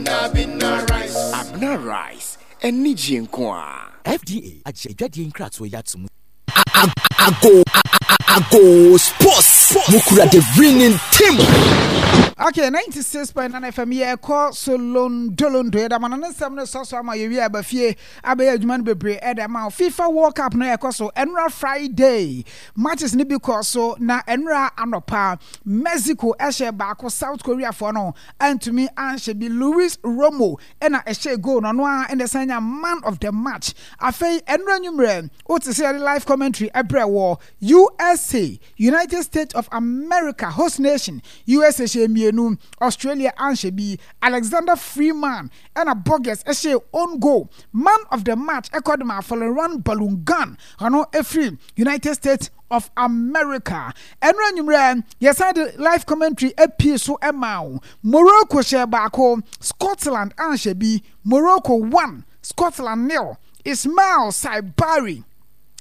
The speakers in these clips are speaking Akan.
Abena Abena rice. Abena rice, anigyeɛ nko ara. FDA agye adwadie nkratoɔ yi ato mu. Ago Ago Sports mukura the winning team. Okay, 96.9 FM yɛkɔ so londolondo yɛda ma no ne nsɛm no sɔ so ama yɛwie aba fie abɛyɛ adwuma no bebree ɛde ama wo. FIFA World Cup no ɛkɔ so ɛnora Friday matches no bi kɔ so na ɛnora anɔpa Mexico ɛhyɛ baako, South Korea foɔ no antumi anhyɛ bi. Luis Romo ɛna ɛhyɛ goal no, ɔno ara ɛna ɛsan nya man of the match. Afei ɛnora nwummerɛ wote sɛ yɛde live commentary ɛbrɛ wɔ USA, United States of America, host nation USA hyɛ mmienu, Australia anhyɛ bi. Alexander Freeman ɛna Borges ɛhyɛ own goal. Man of the match ɛkɔ de ma Folarin Balogun, ɔno ɛfiri United States of America. Ɛno anwummerɛ yɛsan de live commentary apue so ɛma wo. Morocco hyɛ baako, Scotland anhyɛ bi. Morocco 1, Scotland 0. Ismail Saibari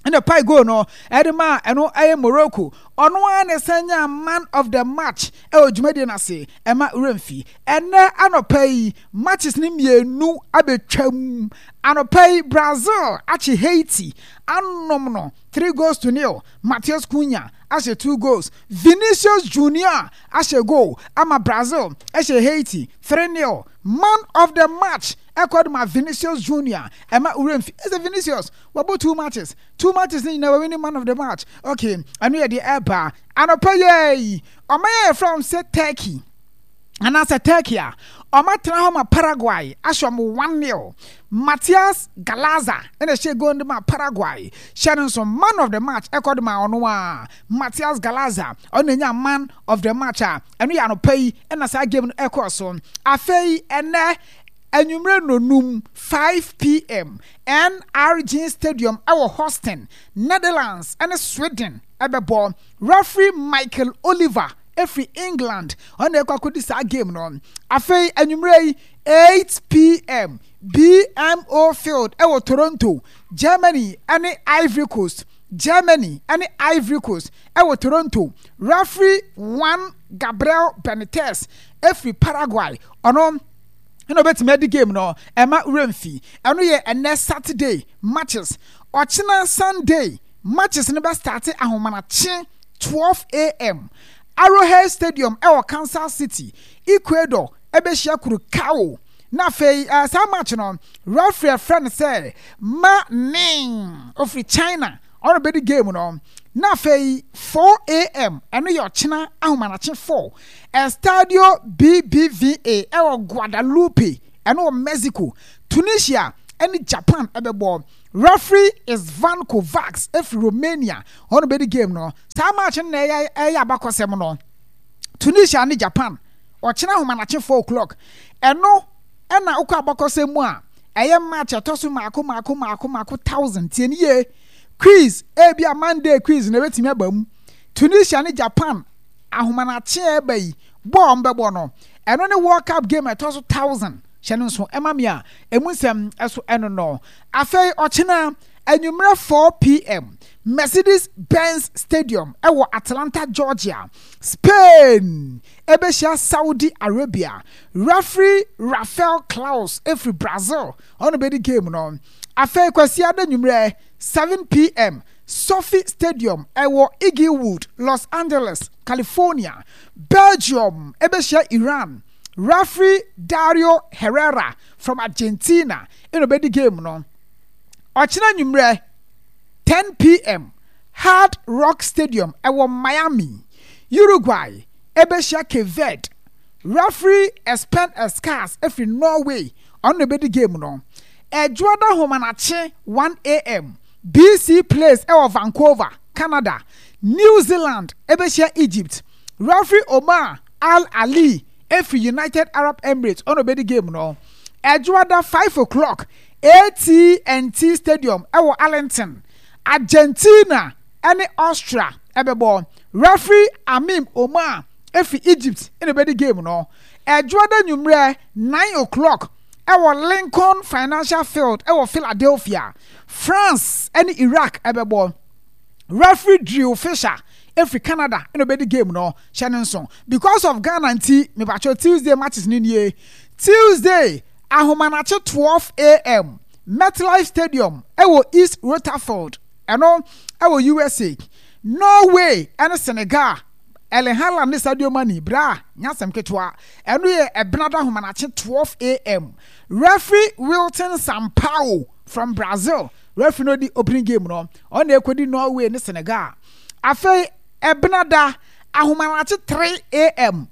ɛna pae goal no ɛde ma ɛno ɛyɛ Morocco. Ɔno ara na ɛsan nyaa man of the match ɛwɔ dwumadie no ase. Ɛma werɛ ɛnɛ anɔpa yi matches no mmienu abɛtwam. Anɔpa yi Brazil akye Haiti anom no 3 goals to 0. Matheus Cunha ahyɛ two goals, Vinicius Junior ahyɛ goal ama Brazil ɛhyɛ Haiti 3-0. Man of the match ɛkɔ de ma Vinicius Junior. Ɛma werɛ mfi ɛsɛ Vinicius wabɔ two matches, two matches ne nyinaa wawin man of the match. Okay, ɛno yɛ deɛ ɛba anɔpa yi. Ɔman yɛ yɛfrɛ wɔn sɛ Turkey anaasɛ Turkey a ɔmatena hɔ ma Paraguay ahyɛ ɔmo 1-0. Matias Galaza ɛna ɛhyɛ goal de ma Paraguay. Hyɛ no nso, man of the match ɛkɔ de ma ɔno a Matias Galaza, ɔno na nya man of the match a ɛno yɛ anɔpa yi ɛna saa game no ɛkɔɔ so. Afei ɛnɛ anwummerɛ nonum, 5 p.m., NRG Stadium ɛwɔ Houston, Netherlands ɛne Sweden ɛbɛbɔ. Referee Michael Oliver ɛfiri England, ɔno na ɛkɔ akɔdi saa game no. Afei anwummerɛ yi 8 p.m., BMO Field ɛwɔ Toronto, Germany ɛne Ivory Coast. Germany ɛne Ivory Coast ɛwɔ Toronto. Referee Juan Gabriel Benitez ɛfiri Paraguay, ɔno ɛna ɔbɛtumi adi game no. Ɛma werɛmfi, ɛno yɛ ɛnɛ Saturday matches. Ɔkyena Sunday matches no bɛ start ahomanakye 12 a.m., Arrowhead Stadium ɛwɔ Kansas City, Ecuador ɛbɛhyia Curacao. Na afei saa match no, referee ɛfrɛ no sɛ Ma Ning ofiri China, ɔno bɛdi game no. Na afei 4 a.m., ɛno yɛ ɔkyena ahomanakye 4, Estadio BBVA ɛwɔ Guadalupe, ɛno wɔ Mexico, Tunisia ɛne Japan ɛbɛbɔ. Referee Isvan Kovacs ɛfiri Romania, ɔno bɛdi game no. Saa match no na ɛyɛ abakɔsɛm no, Tunisia ne Japan, ɔkyena ahomanakye 4 o'clock. Ɛno ɛna wokɔ abakɔsɛm mu a, ɛyɛ match ɛtɔ so maako maako maako maako thousand. Tie ne yie, quiz ebi a Monday quiz na ebɛtumi aba mu. Tunisia ne Japan ahomanakye a ɛba yi bɔɔl mbɛbɔ no, ɛno ne World Cup game ɛtɔ so thousand. Hyɛ no nso ɛma mi a emu nsɛm ɛso ɛno no. Afei ɔkyena anwummerɛ 4 p.m., Mercedes Benz Stadium ɛwɔ Atlanta, Georgia, Spain ɛbɛhyia Saudi Arabia. Referee Rafael Claus ɛfiri Brazil, ɔno bɛdi game no. Afei Kwasiada anwummerɛ 7 p.m., SoFi Stadium ɛwɔ Inglewood, Los Angeles, California, Belgium ɛbɛhyia Iran. Referee Dario Herrera from Argentina ɛna ɔbɛdi game no. Ɔkyena anwummerɛ 10 p.m., Hard Rock Stadium ɛwɔ Miami, Uruguay ɛbɛhyia Cape Verde. Referee Espen Eskas ɛfiri Norway, ɔno na ɛbɛdi game no. Ɛdwoada homanakye 1 a.m., BC Place ɛwɔ Vancouver, Canada, New Zealand ɛbɛhyia Egypt. Referee Omar Al Ali ɛfiri United Arab Emirates, ɔno ɔbɛdi game no. Ɛdwoada 5 o'clock, AT&T Stadium ɛwɔ Arlington, Argentina ɛne Austria ɛbɛbɔ. Referee Amim Omar ɛfiri Egypt ɛna ɛbɛdi game no. Ɛdwoada nwummerɛ 9 o'clock, ɛwɔ Lincoln Financial Field ɛwɔ Philadelphia, France ɛne Iraq ɛbɛbɔ. Referee Drew Fisher ɛfiri Canada ɛna ɔbɛdi game no. Hyɛ no nso, because of Ghana nti mebatwɛ Tuesday matches no nie. Tuesday ahomanakye 12 am, MetLife Stadium ɛwɔ East Rutherford, ɛno ɛwɔ USA. Norway ɛne Senegal, Erling Haaland ne Sadio Mane, bra, nyɛ asɛm ketewa. Ɛno yɛ Ɛbenada ahomanakye 12 am. Referee Wilton Sampaio from Brazil, referee no odi opening game no, ɔno na ɛkɔdi Norway ne Senegal. Afei Ɛbenada ahomanakye 3 am,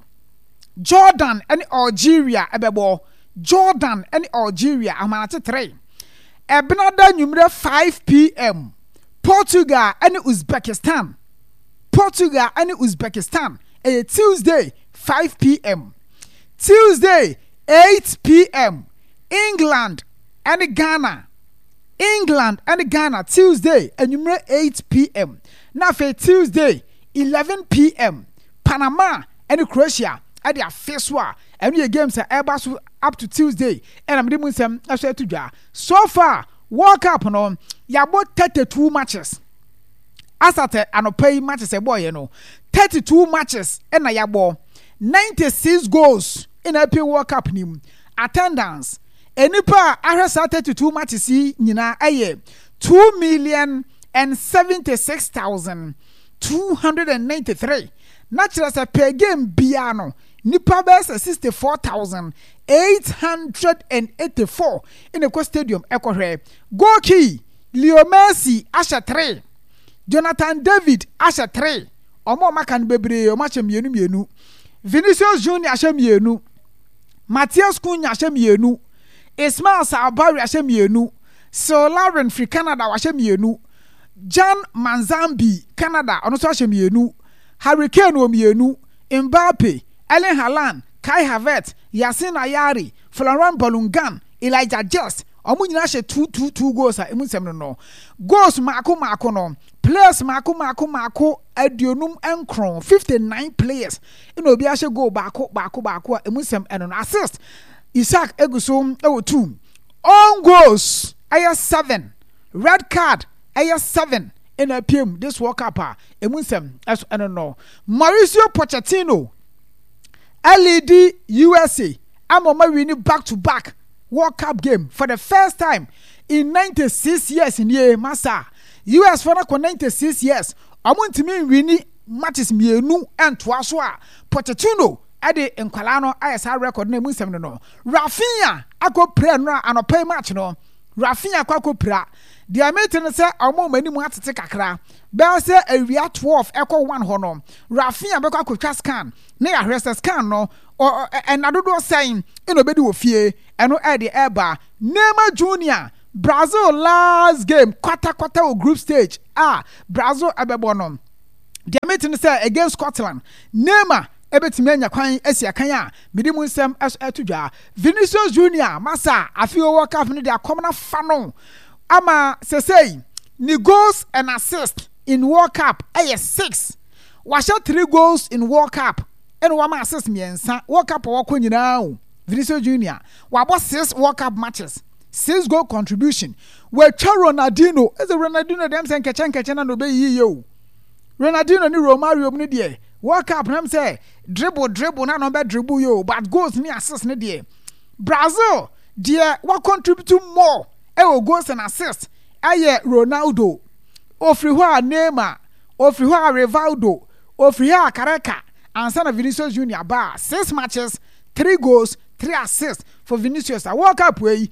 Jordan ne Algeria ɛbɛbɔ. Jordan ne Algeria ahomanakye 3. Ɛbenada nwummerɛ 5 pm, Portugal ne Uzbekistan. Portugal ne Uzbekistan ɛyɛ Tuesday 5 pm. Tuesday 8 pm, England ne Ghana. England ne Ghana Tuesday anwummerɛ 8 pm. Na afei Tuesday 11 pm, Panama ne Croatia ɛde afe so a ɛno yɛ games a ɛreba so up to Tuesday, ɛna mede mu nsɛm ɛso ɛto dwa. So far World Cup no, yɛabɔ 32 matches. Asatɛ anɔpa yi matches ɛbɔɔyɛ no, 32 matches ɛna yɛabɔ. 96 goals ɛna apue World Cup nim. Attendance, nnipa a ahwɛ saa 32 matches yi nyinaa ɛyɛ 2,076,293, na kyerɛ sɛ per game biara no, nipa bɛyɛ sɛ 64,884 ɛna ɛkɔ stadium ɛkɔhwɛ. Goal key, Leo Messi ahyɛ 3, Jonathan David ahyɛ 3. Ɔmo a ɔmo aka no bebree, ɔmo ahyɛ mmienu mmienu. Vinicius Junior ahyɛ mmienu, Matheus Cunha ahyɛ mmienu, Ismail Saibari ahyɛ mmienu, Sil Lavin firi Canada wahyɛ mmienu, Jan Manzambi, Canada, ɔno nso ahyɛ mmienu, Harry Kane wɔ mmienu, Mbappe, Erling Haaland, Kai Havertz, Yasin Ayari, Florent Balogun, Elijah Just, ɔmo nyinaa hyɛ two two two goals a emu nsɛm no, goals mako mako no, players mako mako mako 59, 59 players ɛna obi ahyɛ goal baako baako baako a emu nsɛm ɛno no. Assist, Isak egu so ɛwɔ two. Own goals ɛyɛ seven. Red card ɛyɛ seven ɛna apiem this World Cup a emu nsɛm ɛso ɛno no. Mauricio Pochettino ɛlead USA ama ɔma win back to back World Cup game for the first time in 96 years nie. Masa, US fo no kɔ 96 years, ɔmo ntumi nwin matches mmienu ntoa so a Pochettino ɛde nkwalaa no ayɛ saa record na emu nsɛm no. Raphinha akɔ pira no a anɔpa yi match no, Raphinha akɔ pira. Deɛ mete no sɛ ɔmo ɔmo anim atete kakra. Bɛyɛ sɛ awia 12 ɛkɔ 1 hɔ no, Raphinha bɛkɔ akɔtwa scan na yɛahwɛ sɛ scan no ɛna dodoɔ sɛn ɛna obɛdi wɔ fie. Ɛno ɛde ɛba Neymar Junior, Brazil last game kwatakwata wɔ group stage a Brazil ɛbɛbɔ no, deɛ mete no sɛ against Scotland, Neymar ɛbɛtumi anya kwan asi akan a mede mu nsɛm ɛso ɛto dwa. Vinicius Junior, masa, afei World Cup no de akɔm no afa no ama sesei ne goals and assists in World Cup ɛyɛ six. Wahyɛ three goals in World Cup ɛna wama assist mmiɛnsa World Cup a wɔkɔ nyinaa o. Vinicius Junior wabɔ six World Cup matches, six goal contribution. Watwa Ronaldinho. Ɛsɛ Ronaldinho dɛm sɛ nkɛkyɛ nkɛkyɛ na na ɔbɛyiyi yie o. Ronaldinho ne Romario mu no deɛ, World Cup nam sɛ dribble dribble na na ɔbɛ dribble yie o, but goals ne assists ne deɛ, Brazil deɛ wa contribute more ɛwɔ goals and assists ɛyɛ Ronaldo. Ofiri hɔ a Neymar, ofiri hɔ a Rivaldo, ofiri hɔ a Careca, ansa na Vinicius Junior ba. Six matches, three goals, three assists for Vinicius. A World Cup yi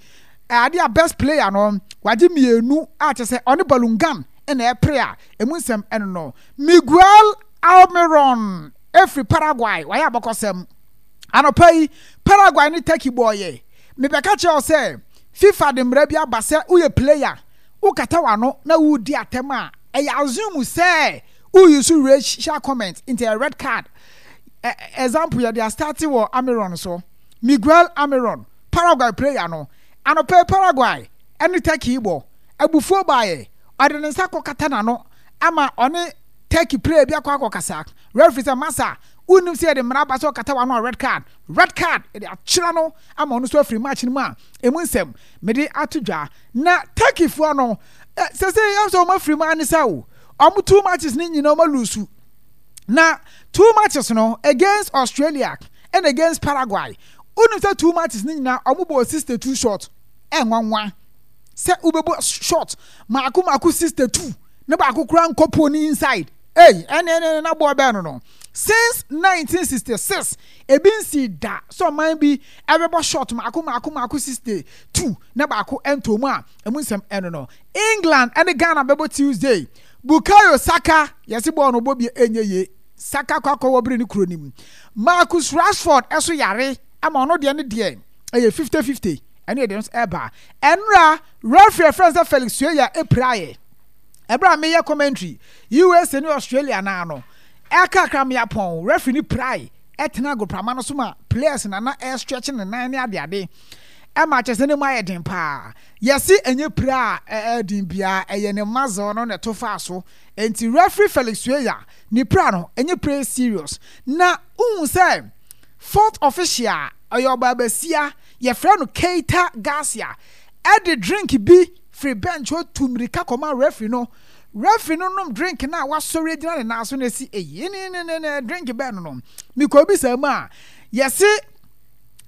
ade a best player no wagye mmienu a kyerɛ sɛ ɔne Balogun ɛna ɛpere a emu nsɛm ɛno no. Miguel Almiron efiri Paraguay wayɛ abɔkɔsɛm. Anɔpa yi Paraguay ne Turkey bɔɔyɛ. Mebɛka kyerɛ wo sɛ FIFA de mmara bi aba sɛ woyɛ player, wokata w'ano na wodi atɛm a, ɛyɛ assume sɛ woyi so racial comment, nti ɛyɛ red card. Example yɛde astart wɔ Almiron so. Miguel Almiron, Paraguay player no, anɔpa yi Paraguay ɛne Turkey bɔ, abufuo baeɛ, ɔde ne nsa kɔkata n'ano ama ɔne Turkey player bi akɔ akɔkasa. Referee sɛ, masa, wonnim sɛ yɛde mmara aba sɛ ɔkata w'ano a red card? Red card yɛde akyerɛ no ama ɔno nso afiri match no mu a emu nsɛm mede ato dwa. Na Turkeyfoɔ no sɛ yɛn sɛ wɔn afiri mu ani sɛ o, wɔn two matches ne nyinaa wɔn alose. Na two matches no, against Australia and against Paraguay. Wonim sɛ two matches no nyinaa ɔmo bɔɔ 62 shot. Ɛnwanwa sɛ wobɛbɔ shot maako maako 62 na baako koraa nkɔ pole no inside. Ei, ɛne ɛne na bɔɔl bɛn no no. Since 1966, ebi nsii da sɛ ɔman bi ɛbɛbɔ shot maako maako maako 62 na baako ɛntɔ mu a emu nsɛm ɛno no. England ɛne Ghana bɛbɔ Tuesday. Bukayo Saka, yɛse bɔɔl no ɔbɔ bi ɛnyɛ yie. Saka kɔ akɔwɔ bere ne kuro no mu. Marcus Rashford ɛso yare ama ɔno deɛ ne deɛ ɛyɛ 50-50 ɛne ɛdeɛ nso ɛba. Ɛnora referee ɛfrɛ no sɛ Felix Sueya ɛpiraeɛ. Ɛberɛ a meyɛ commentary USA ne Australia naa no, ɛkakra meapɔn referee no pirae ɛtena agoprama no so ma players na na ɛstretch ne nan ne adeade ɛma kyerɛ sɛ ne mu ayɛ den paa. Yɛse ɛnyɛ pira a ɛyɛ den biara, ɛyɛ ne muscle no na ɛto faa so. Enti referee Felix Sueya ne pira no ɛnyɛ pira serious. Na wohu sɛ fourth official a ɔyɛ ɔbaabasia yɛfrɛ no Keita Garcia ɛde drink bi firi bench hɔ tu mmirika kɔma referee no. Referee no nom drink no a wasɔre agyina ne nan so na ɛsi eyi ne ne ne ne drink bɛn no no. Mekɔbisa mu a yɛse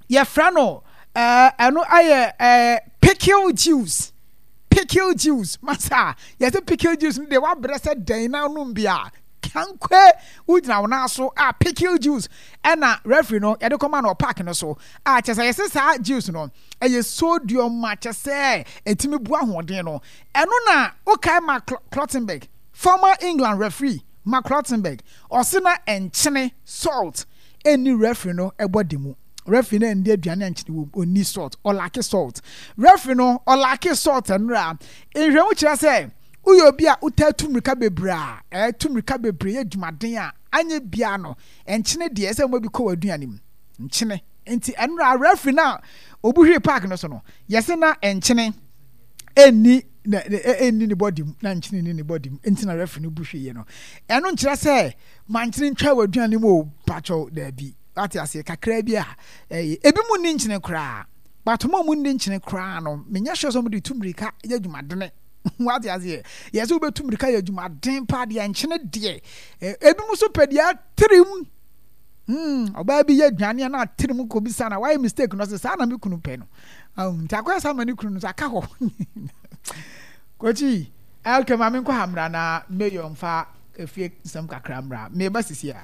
yɛfrɛ no ɛɛ ɛno ayɛ ɛɛ pickle juice pickle juice masa yɛsɛ pickle juice no deɛ wabrɛ sɛ dɛn na nom bi a kankwe wogyina wo nan so a pickle juice ɛna referee no yɛde kɔma no park no so a kyɛ sɛ yɛsɛ saa juice no ɛyɛ sodium ma kyɛ sɛ ɛtumi bu ahoɔden no ɛno na wokae ma Clottenberg former England referee Mark Clottenberg ɔse na nkyene salt ɛnni referee no body mu. Referee no ɛndi aduane a nkyene wom, ɔnni salt, ɔlake salt. Referee no ɔlake salt nnora. Nhwɛmu kyerɛ sɛ woyɛ obi a wotaa tu mmirika bebree a, ɛɛ tu mmirika bebree yɛ adwumaden a, anyɛ biara no, nkyene deɛ ɛsɛ sɛ bi kɔ w'aduane mu. Nkyene. Nti ɛnora referee no a ɔbu hwee park no so no, yɛse na nkyene ɛnni na ɛnni ne body mu, na nkyene nni ne body mu, nti na referee no bu hweeɛ no. Ɛno nkyerɛ sɛ Mankyene ntwa w'aduane mu o pakyɛw daabi wate aseɛ kakraa bi a ɛyɛ ebi mu nni nkyene koraa but mo a mo nni nkyene koraa no menyɛ sure sɛ mo de tu mmirika yɛ adwumadene wate aseɛ yɛ sɛ wobɛtu mmirika yɛ adwumaden paa deɛ nkyene deɛ ebi mu nso pɛ deɛ atirim hmm ɔbaa bi yɛ aduane a na atirim kɔ bi sa na wayɛ mistake no sɛ saa na me kunu pɛ no nti akɔyɛ saa ma ne kunu no so aka hɔ kɔkyi okay maame nkɔ ha mmra na mayor mfa Efie nsɛm kakra mmra. Meba sisi a.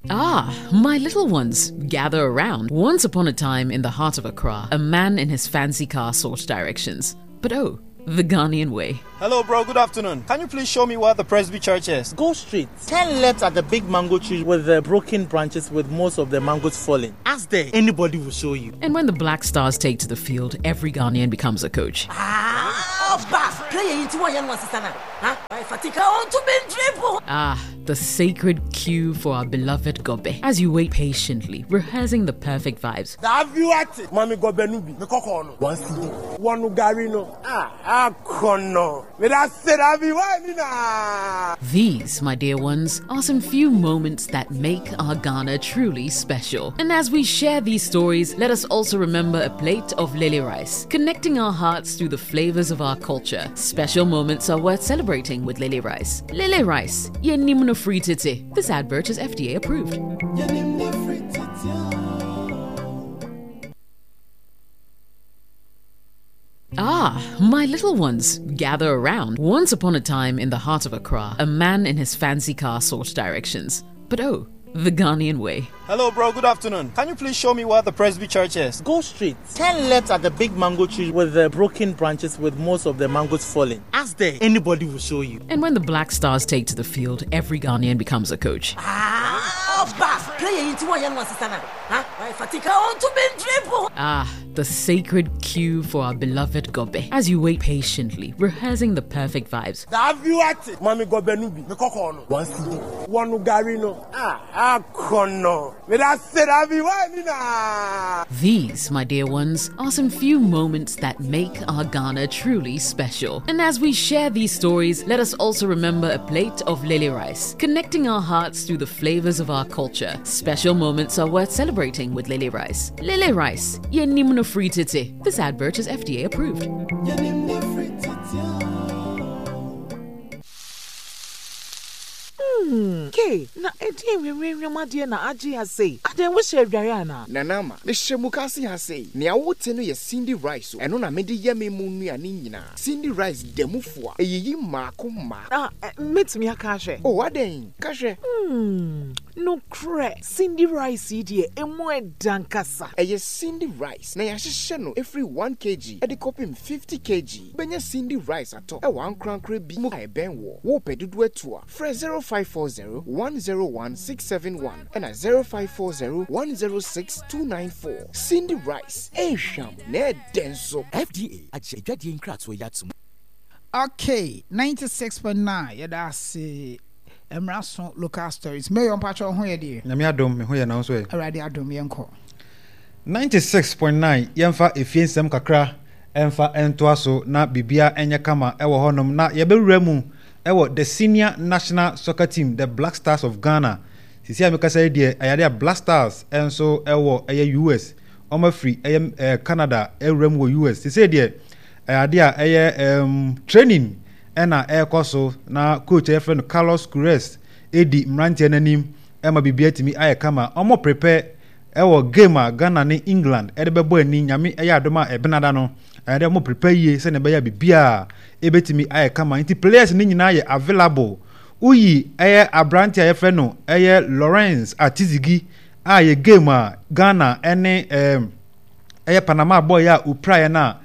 Ah, my little ones, gather around. Once upon a time in the heart of Accra, a man in his fancy car sought directions. But oh, the Ghanaian way. Hello, bro. Good afternoon. Can you please show me where the Presby Church is? Go straight. Turn left at the big mango tree with the broken branches with most of the mangoes falling. Ask there. Anybody will show you. And when the Black Stars take to the field, every Ghanaian becomes a coach. Ah, Ah, the sacred queue for our beloved Gobe. As you wait patiently, rehearsing the perfect vibes. Mami Gobe nubi. One CD. One garino. Ah, akono. These, my dear ones, are some few moments that make our Ghana truly special. And as we share these stories, let us also remember a plate of lily rice, connecting our hearts through the flavors of our culture. Special moments are worth celebrating with lily rice. Lily rice, yenimno free titi. This advert is FDA approved. Ah, my little ones, gather around. Once upon a time in the heart of Accra, a man in his fancy car sought directions. But oh, the Ghanaian way. Hello, bro. Good afternoon. Can you please show me where the Presby Church is? Go straight. Turn left at the big mango tree with the broken branches with most of the mangoes falling. Ask there. Anybody will show you. And when the Black Stars take to the field, every Ghanaian becomes a coach. Ah, Ah, the sacred queue for our beloved Gobe. As you wait patiently, rehearsing the perfect vibes. Mami Gobe nubi. One CD. One garino. Ah, akono. These, my dear ones, are some few moments that make our Ghana truly special. And as we share these stories, let us also remember a plate of lily rice, connecting our hearts through the flavors of our culture. Special moments are worth celebrating with lily rice. Lily rice, yenimno free titi. This advert is FDA approved. Hmm, K. Kay, na ɛdeɛn hwamhwamhwam adeɛ na agye ha sei? Adɛn, wohyɛ adwareɛ anaa? Nana Ama, mehyɛ mukaase ha sei. Nea wote no yɛ Cindy rice o, ɛno na mede yɛ me mo nnuane nyinaa. Cindy rice da mu fua, ɛyiyi mmaako mmaako. Ah, mɛtumi aka ahwɛ? Oh, adɛn? Ka hwɛ. Hmm, nokorɛ, Cindy rice yi deɛ, ɛmu ɛdɛ ankasa. Ɛyɛ Cindy rice na yɛahyehyɛ no ɛfiri one kg de kɔpem 50 kg. Wobɛnya Cindy rice atɔ wɔ ankorankorɛ bi mu a ɛbɛn woɔ. Wopɛ dodoɔ atu a, frɛ 0540 101 671 ɛna 0540 106 294. Cindy rice, ɛnhwam na ɛdɛ nso. FDA agye adwadie nkratoɔ yi atom. Okay, 96.9 yɛda ase mmra so local stories. Mayor mpakyɛ wo ho yɛ deɛ? Nyame adom me ho yɛ na wo nso ɛ? Awurade adom yɛnkɔ. 96.9 yɛmfa efie nsɛm kakra ɛmfa ntoa so na biribiara nyɛ kama ɛwɔ hɔnom na yɛbɛwura mu ɛwɔ the senior national soccer team the Black Stars of Ghana. Sisi a mekasa yi deɛ ɛyɛ adeɛ a Black Stars nso ɛwɔ ɛyɛ US wɔn afiri ɛyɛ ɛɛ Canada ɛwura mu wɔ US sisi deɛ ɛyɛ adeɛ a ɛyɛ ɛɛm training ɛna ɛrekɔ so na coach a yɛfrɛ no Carlos Queiroz ɛredi mmeranteɛ no anim ɛma biribi atumi ayɛ kama. Wɔn prepare ɛwɔ game a Ghana ne England ɛde bɛbɔ ani nyame ɛyɛ adom a ɛbenada no ɛyɛ dɛ wɔn prepare yie sɛnea ɛbɛyɛ a biribiara ɛbɛtumi ayɛ kama nti players no nyinaa yɛ available. Woyi ɛyɛ aberante a yɛfrɛ no ɛyɛ Lawrence Atizigi a yɛ game a Ghana ɛne ɛɛm ɛyɛ Panama bɔɔl a opiraeɛ no a,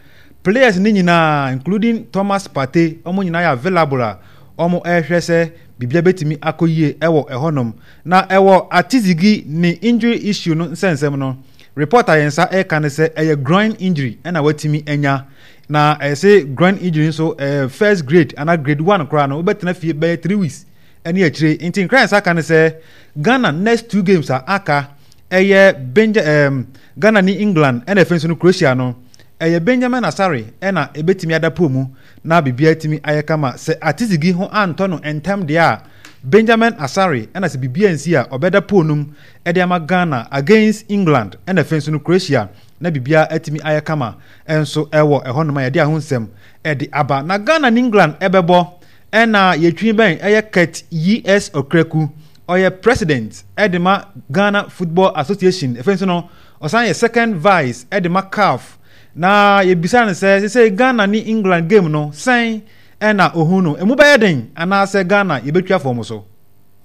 players no nyinaa including Thomas Partey, wɔn nyinaa yɛ available a wɔrehwɛ sɛ biribiara bɛtumi akɔ yie wɔ ɛhɔnom. Na ɛwɔ Atizigi ne injury issue no nsɛnsɛm no, report a yɛn nsa ɛreka ne sɛ ɛyɛ groin injury ɛna watumi anya. Na ɛyɛ sɛ groin injury nso ɛyɛ first grade anaa grade one koraa no wobɛtena fie bɛyɛ 3 weeks ɛne akyire. Nti nkra yɛn nsa aka ne sɛ Ghana next two games a aka ɛyɛ Benja ɛɛm Ghana ne England ɛna afei nso no Croatia no, ɛyɛ Benjamin Asare ɛna ɛbɛtumi ada pool mu na biribiara atumi ayɛ kama. Sɛ Atizigi ho antɔ no ntɛm deɛ a, Benjamin Asare ɛna sɛ biribiara ansi a ɔbɛda pool no mu ɛde ama Ghana against England ɛna afei nso no Croatia na biribiara atumi ayɛ kama nso ɛwɔ ɛhɔnom a yɛde ahonsɛm ɛde aba. Na Ghana ne England ɛbɛbɔ ɛna yɛtwi bɛn ɛyɛ Kurt E.S. Okraku. Ɔyɛ President de ma Ghana Football Association, afei nso no, ɔsan yɛ Second Vice de ma CAF. Na yɛbisa no sɛ, sesei Ghana ne England game no, sɛn na ohu no? Emu bɛyɛ den anaasɛ Ghana yɛbɛtwa fam so?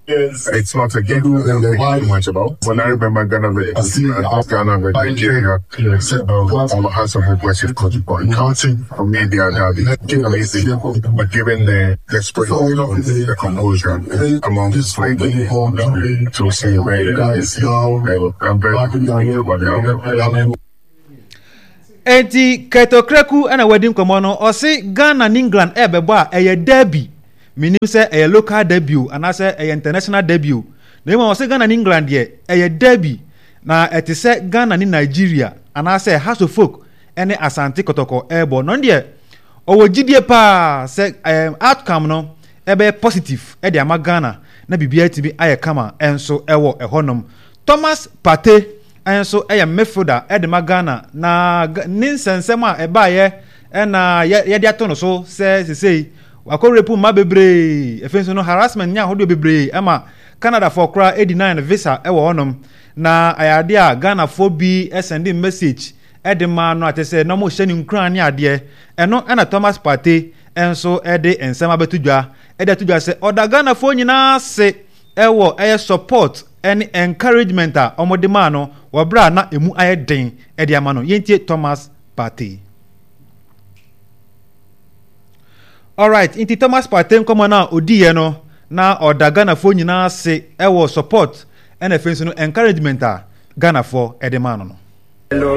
It's not a game that I think too much about. When I remember Ghana versus England, Ghana versus Nigeria, um, I had some impressive contribution. For me, they are derby amazing, but given the desperate the composure among the to see where it is, I'm very happy about the outcome. Enti Kurt Okraku na wadi nkɔmmɔ no, ɔse Ghana ne England ɛrebɛbɔ a ɛyɛ derby. Menim sɛ ɛyɛ local derby o anaasɛ ɛyɛ international derby o. Na mmom ɔse Ghana ne England deɛ ɛyɛ derby na ɛte sɛ Ghana ne Nigeria anaasɛ Hearts of Oak ne Asante Kɔtɔkɔ rebɔ. Na ɔno deɛ ɔwɔ gyidie paa sɛ ɛɛ outcome no ɛbɛyɛ positive de ama Ghana na biribiara atumi ayɛ kama nso wɔ ɛhɔnom. Thomas Partey nso yɛ midfielder de ma Ghana na ne nsɛnsɛm a ɛbaeɛ na yɛde ato no so sɛ sesei wakɔ rape mma bebree, afei nso no harassment ne ahodoɔ bebree ma Canadafoɔ koraa deny no visa wɔ hɔnom. Na ɛyɛ adeɛ a Ghanafoɔ bi sɛnde message de maa no a kyerɛ sɛ na wɔrehyɛ no nkuran ne adeɛ. Ɛno na Thomas Partey nso de nsɛm abɛto dwa de ato dwa sɛ ɔda Ghanafoɔ nyinaa ase wɔ ɛyɛ support ne encouragement a wɔde maa no wɔ berɛ a na ɛmu ayɛ den de ama no. Yɛntie Thomas Partey. Alright, nti Thomas Partey nkɔmmɔ no a ɔdiiɛ no na ɔda Ghanafoɔ nyinaa ase wɔ support ɛna afei nso no encouragement a Ghanafoɔ de maa no no. Hello.